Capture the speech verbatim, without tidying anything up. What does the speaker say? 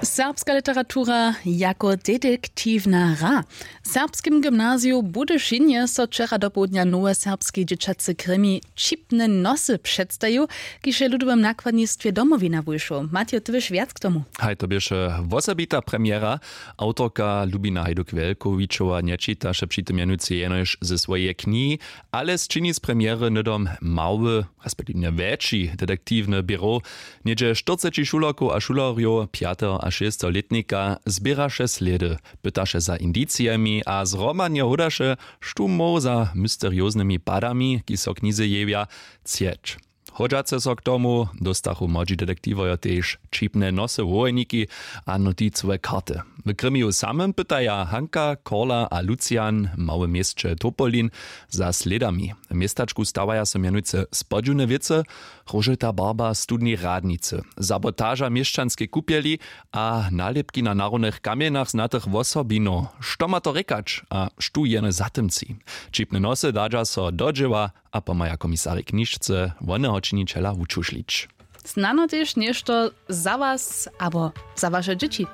Serbska literatura jako detektiwna hra. W serbskim gymnaziju w budyšinje so wčera dopołdnja nowy serbski dźěćacy krimi Ćipne nosy předstajił, kiž je w ludowym nakładnistwje Domowina wušoł. Matej, ty běš wjac k tomu? Haj, to běše wosebita premjera. Awtorka Lubina Hajduk-Wjelkowičowa nječitaše při tym mjenujcy jenož ze swojeje knihi, ale sčini z premjery hnydom mały, respektiwnje wjetši detektiwny běrow. Něhdźe štyrceći šulerkow a šulerjow pjateho a šesteho lětnika zběraše slědy, pytaše za indicijemi a zhromadnje hodaše, štó móhł za mysterioznymi padami, kiž so w knize jewja, třeć. Hodźace so k tomu dóstachu młodźi detektiwojo tež ćipne nosy, wołojniki a noticowe karty. W krimiju samym pytaja Hanka, Korla a Lucian w małym měsće Topolin za slědami. W městačku stawaja so mjenujcy spodźiwne wěcy: róžowta barba studni Radnicy, sabotaža měšćanskej kupjeli a nalěpki na narodnych kamjenach znatych wosobinow. Što ma to rěkać a štó jene za tym tři? Ćipne nosy dadźa so do dźěła a pomhaja komisarjej knižce woneho činićela wučušlić. Snano tež něšto za was abo za waše dźěći.